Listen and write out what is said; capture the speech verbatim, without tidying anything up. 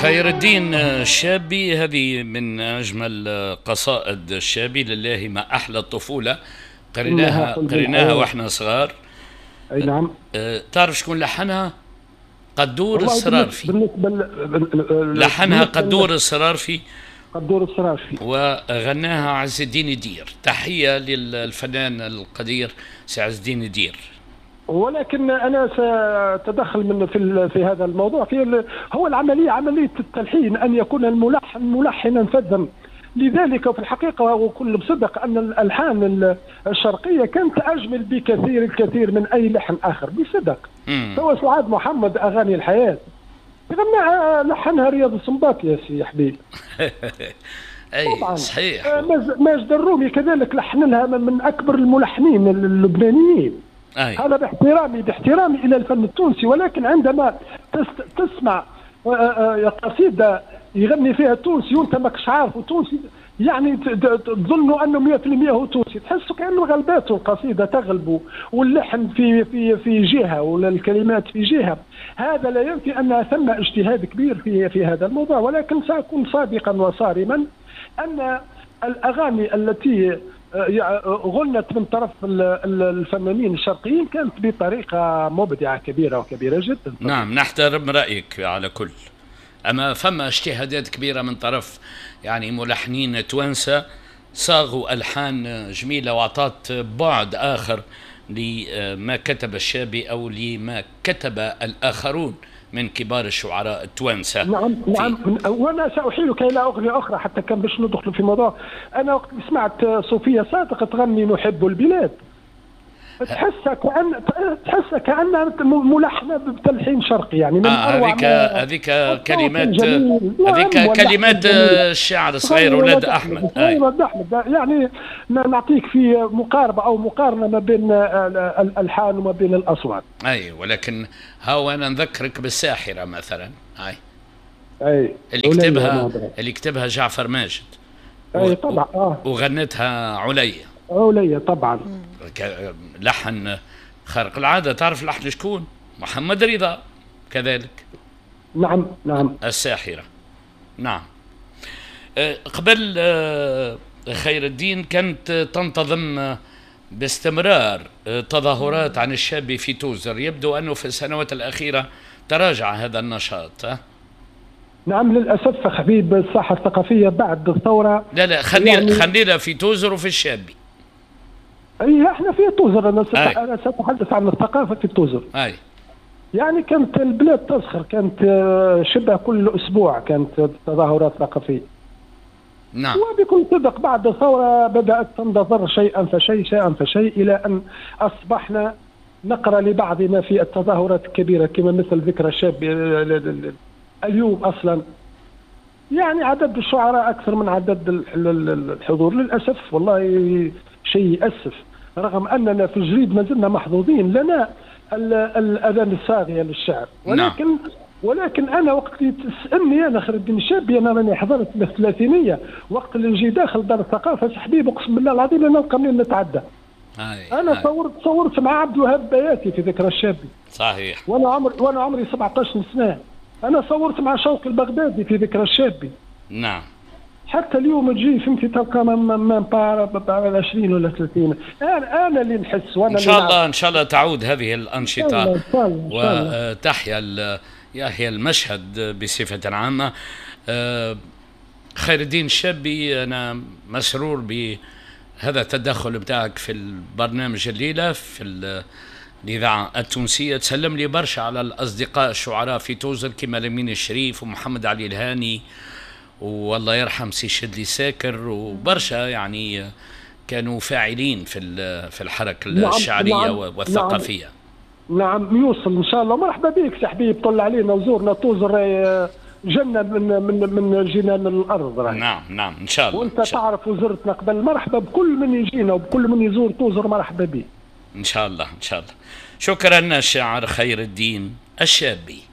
خير الدين الشابي، هذه من أجمل قصائد الشابي، لله ما أحلى الطفولة، قريناها قريناها وإحنا صغار. أي نعم. أه تعرف شكون لحنها؟ قدور السرارفي. بالنسبة ل... لحنها قدور السرارفي. قدور السرارفي وغناها عز الدين يدير. تحية للفنان القدير سي عز الدين يدير. ولكن انا ساتدخل من في في هذا الموضوع، في هو العملية عملية التلحين، ان يكون الملحن ملحنا فذا. لذلك في الحقيقة وكل بصدق ان الالحان الشرقية كانت اجمل بكثير الكثير من اي لحن اخر بصدق. سواء سعاد محمد اغاني الحياة غناها لحنها رياض السنباطي يا سي حبيب. اي طبعا صحيح. ماجد الرومي كذلك لحن لها، من اكبر الملحنين اللبنانيين. أي. هذا باحترامي باحترامي الى الفن التونسي، ولكن عندما تسمع قصيدة يغني فيها تونسي وانت ماكش عارف تونسي، يعني تظن انه مية بالمية هو تونسي، تحسه كانه غلباته القصيدة تغلبه، واللحن في في في جهة والكلمات في جهة. هذا لا ينفي ان ثم اجتهاد كبير في في هذا الموضوع، ولكن ساكون صادقا وصارما ان الاغاني التي غنت من طرف الفنانين الشرقيين كانت بطريقة مبدعة كبيرة وكبيره جدا. نعم، نحترم رايك على كل، اما فما اجتهادات كبيرة من طرف يعني ملحنين توانسة صاغوا الحان جميلة واعطت بعد اخر لما كتب الشابي او لما كتب الاخرون من كبار الشعراء التوانسة. نعم نعم. وانا ساحيلك الى اغنية اخرى حتى كان باش ندخل في موضوع. انا وقت سمعت صوفيا صادق تغني نحب البلاد، تحسها كأن تحسها كأنها ملحنة بتلحين شرقي، يعني من آه هذيك هذيك كلمات، هذيك كلمات الشاعر الصغير ولاد احمد. ولاد احمد، يعني نعطيك في مقاربة او مقارنة ما بين الالحان وما بين الاصوات. اي، ولكن هاو انا نذكرك بالساحره مثلا، هاي اي اللي كتبها اللي كتبها جعفر ماجد. اي طبعا. آه. وغنتها عليا. عليا طبعا. لحن خارق العادة. تعرف لحن شكون؟ محمد رضا كذلك. نعم نعم. الساحرة. نعم. قبل خير الدين كانت تنتظم باستمرار تظاهرات عن الشاب في توزر، يبدو أنه في السنوات الأخيرة تراجع هذا النشاط. نعم للأسف حبيب، الساحة الثقافية بعد الثورة. لا لا، خلينا يعني خلينا في توزر وفي الشابي. اي احنا في توزر، انا انا ساتحدث عن الثقافة في توزر. اي يعني كانت البلاد تزخر، كانت شبه كل اسبوع كانت تظاهرات ثقافية. نعم. وبكل صدق بعد الثورة بدات تنتظر شيئا فشيء شيئا فشيء، الى ان اصبحنا نقرا لبعضنا في التظاهرات الكبيرة كما مثل ذكرى الشاب اليوم اصلا. يعني عدد الشعراء اكثر من عدد الحضور للاسف، والله شيء يأسف، رغم أننا في الجريد ما زلنا محظوظين، لنا الأذان الصاغية للشعر، ولكن نعم. ولكن أنا وقت اللي تسألني أنا خير الدين الشابي، أنا راني حضرت من الثلاثينية، وقت اللي نجي داخل دار الثقافة حبيب أقسم بالله العظيم لا نلقى منين نتعدى. هاي أنا هاي. صورت صورت مع عبد الوهاب بياتي في ذكرى الشابي. صحيح. وأنا عمري وأنا عمري سبعطاش سنة. أنا صورت مع شوقي البغدادي في ذكرى الشابي. نعم. حتى اليوم تجي فهمتي تلقى ما با عشرين ولا ثلاثين. انا انا اللي نحس وانا ان شاء الله ان شاء الله تعود هذه الانشطة وتحيا يحيا المشهد بصفة عامة. خير الدين الشابي، انا مسرور بهذا التدخل بتاعك في البرنامج الليلة في الاذاعة التونسية. تسلم لي برشا على الاصدقاء الشعراء في توزر كما لمين الشريف ومحمد علي الهاني والله يرحم سي شدلي ساكر وبرشا، يعني كانوا فاعلين في في الحركة نعم الشعرية نعم والثقافية. نعم, نعم يوصل ان شاء الله. مرحبا بك سي حبيب، طل علينا وزورنا توزر جنة من من من جنان الارض راهي. نعم نعم ان شاء الله. وانت تعرف وزرتنا قبل، مرحبا بكل من يجينا وبكل من يزور توزر، مرحبا به ان شاء الله ان شاء الله. شكرا الشاعر خير الدين الشابي.